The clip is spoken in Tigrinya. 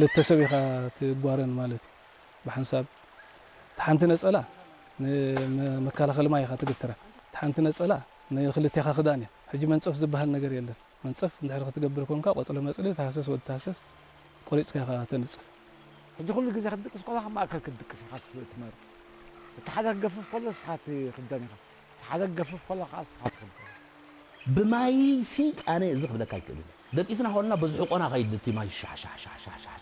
ክልተ ሰብ ኢኻ ትጓረን ማለት እዩ። ብሓንሳብ እቲ ሓንቲ ነጸላ ንመከላኸሊ ማይ ኢኻ ትግትራ። እቲ ሓንቲ ነጸላ ንክልቴኻ ክዳን እያ። ሕጂ መንጸፍ ዝበሃል ነገር የለን። መንጸፍ እንድሕር ክትገብር ኮንካ ቆጽሊ መጽሊ ተሃሰስ ወዲ ተሃሰስ ቆሪጽካ ኢኻ ተንጽፍ። ሕጂ ኩሉ ግዜ ክትድቅስ ከለኻ ማእከል ክትድቅስ ኢኻ ትፍ-፣ ትመርጽ። እቲ ሓደ ክገፍፍ ከሎ ንስኻ ትኽደን ኢኻ። እቲ ሓደ ክገፍፍ ከሎ ከዓ ንስኻ ትኽደን። ብማይሲ ኣነ እዚ ክብለካ ኣይክእልን። ደቂስና ከለና በዚ ሕቆና ከይድ እቲ ማይ ሻሕ ሻሕ ሻሕ ሻሕ ሻሕ